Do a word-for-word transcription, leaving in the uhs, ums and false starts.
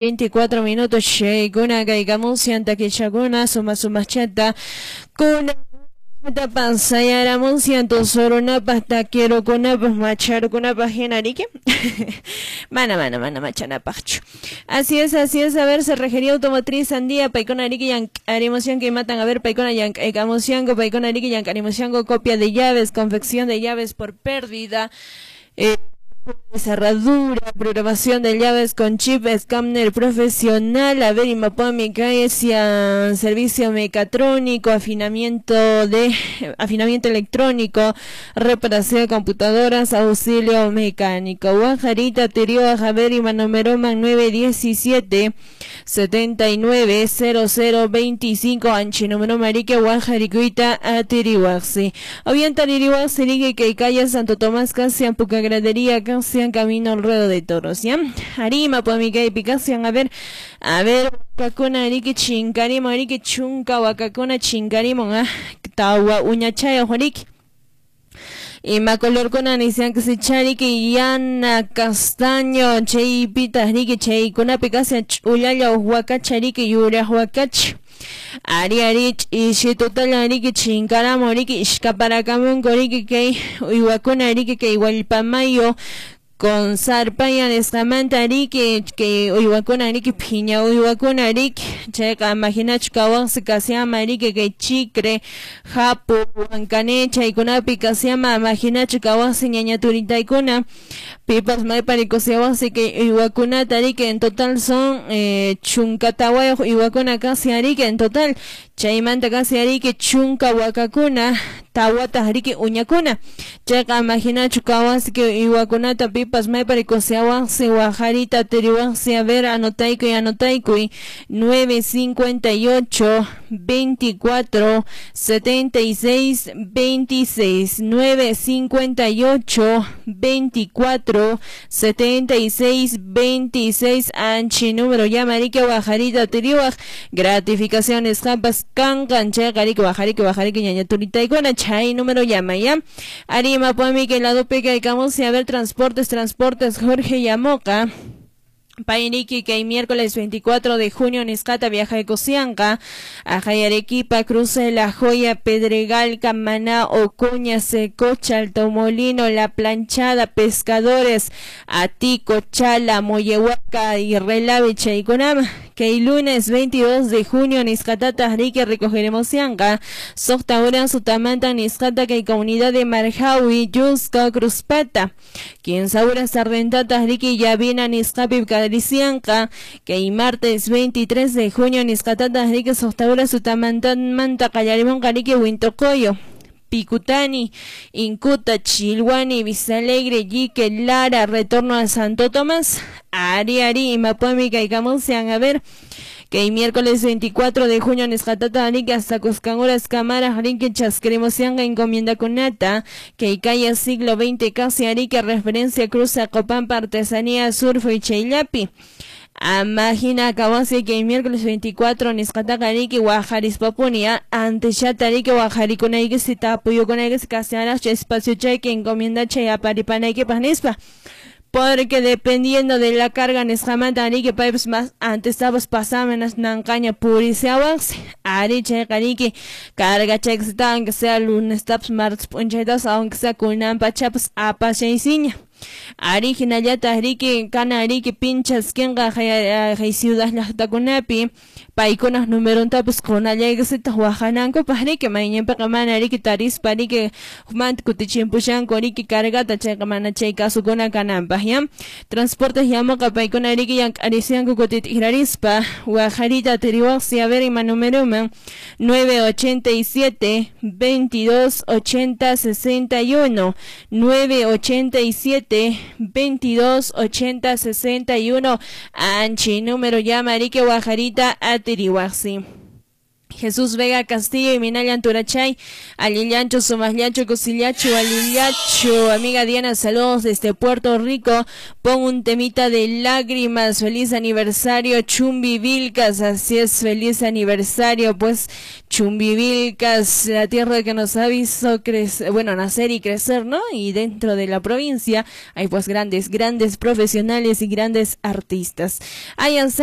veinticuatro minutos shaykuna kaykamunsian takichakuna suma sumachata kuna pasayaramunsian tusurunapaq takirukunapaq macharukunapaq hina riki mana mana mana machanapaqchu. Así es, así es. A ver, cerrajería automotriz Sandía, paykuna riki llank'arimushanku imatan, a ver, paykuna llank'aykamushanku, paykuna riki llank'arimushanku, copia de llaves, confección de llaves por pérdida, eh, cerradura, programación de llaves con chip, escáner profesional, a ver, imapami caesia, servicio mecatrónico, afinamiento de afinamiento electrónico, reparación de computadoras, auxilio mecánico. Guajarita, Terio, Javier y Manomeroman nueve diecisiete setenta y nueve cero cero veinticinco, Anchi número Marique, Guajaricuita, Atirihuaxi. O bien Taririhuaxi, Ligue, que calle Santo Tomás, Casian, Pucagradería, Casian, Camino al Ruedo de Toros, ¿ya? Arima, Pomica y Picasian, a ver, a ver, Wakakuna, Ariki, Chinkarimo, Ariki, Chunka, Wakakuna, Chinkarimo, ah, Tawa, Uñachaya, Joriki. Y macolorcuna nisian que se chariki yana castaño chey pita riki chey kunapi kasi ch'ullalla huacachariki yura huacach ari ari ishitutalla riki chinkaramo riki ishkaparakamunko riki kay uywakuna riki kay wallpamayo con zarpaya nisqamanta riki kay uywakuna riki phiña uywakuna riki chayqa imaginachu kawansi kasiama riki kay chicre japu huancane chaykunapi kasiama imaginachu kawansi ñaña turitaykuna pipas mayparikusiawansi kay uywakunata riki en total son eh, chunka tawayuq uywakuna kasi riki en total chaymanta kasi riki chunka wakakuna tawataq riki uñakuna chayqa imaginachu kawansi kay uywakunata pipas mayparikusiawansi wajarita tiriwansi a ver anotaykuy anotaykuy nueve cincuenta y ocho veinticuatro setenta y seis veintiséis nueve cincuenta y ocho veinticuatro setenta y seis veintiséis anchi número llama riki wajarita tiriwaq gratificaciones jampas kankan chayqa riki wajariki wajariki ñaña turitaykuna chay número llama ya arima pomi que lado pica y camus a ver transportes transportes Jorge Yamoca Painiki que miércoles veinticuatro de junio nisqata viaja de Cosianca a Arequipa, Cruce La Joya, Pedregal, Camaná, Ocuña, Secocha, Alto Molino, La Planchada, Pescadores, Atico, Chala, Moyehuaca y Relave, Chayconama. Que el lunes veintidós de junio nisqatata rique recogeremos Sianca, Soctaura, Sutamanta, nisqata que comunidad de Marjaui, Yusca, Cruzpata, quien saura sardentata rique Yavina, nisqapi Sianca, que el martes veintitrés de junio nisqatata rique Soctaura, Sutamanta, Manta, Callarimón, Carique, Huintocoyo, Picutani, Incuta, Chilhuani, Visalegre, Yique, Lara, retorno a Santo Tomás, Ari, Ari, Imapuami, Caicamuncian, a ver, que el miércoles veinticuatro de junio nisqatata arique hasta Cuscanguras, Cámara, Arique, Chasqueremosianga, encomienda Cunata, que calle siglo veinte, casi Arique, referencia Cruza, Copampa, Artesanía, Surfo y Chaylapi. Amagina Kawasi que el miércoles veinticuatro nisqataqa riki waqarispapuni antes riki waqarikunayki sitapuyukunayki kasiaraqchu espacio chay que encomienda chay aparipanaykipaq nispa porque dependiendo de la carga nisqamanta riki paypas más antes estabas pasamenas nanqaña purisiawansi ari chayqa riki carga chaykisita aunque sea lunes tapas martes p'unchaytas aunque sea kunanpachapas apashaysiña ari hinallataq riki kana riki pinchaskinqa hay ciudad llaqtakunapi paykunaq numerontapas qunallaykisitaq waqanankupaq riki mayñinpiqa mana riki tarispa riki hukmanta kutichimpushanku riki cargata chayqa mana chay kasukuna kananpaq ya transportes yamuqa paykuna riki llank'arisianku kutit'ikrarispa waqarita tiriwaqsi a ver ima numeroman nueve ochenta y siete veintidós ochenta sesenta y uno nueve ochenta y siete veintidós ochenta sesenta y uno anchi número llama Arique Guajarita Atirihuaxi. Jesús Vega Castillo y Minayan Turachay, Alillancho, Sumallacho, Cosillacho, Alillacho, amiga Diana, saludos desde Puerto Rico, pon un temita de lágrimas, feliz aniversario, Chumbivilcas, así es, feliz aniversario, pues Chumbivilcas, la tierra que nos ha visto crecer, bueno, nacer y crecer, ¿no? Y dentro de la provincia hay pues grandes, grandes profesionales y grandes artistas. Ayan Sánchez.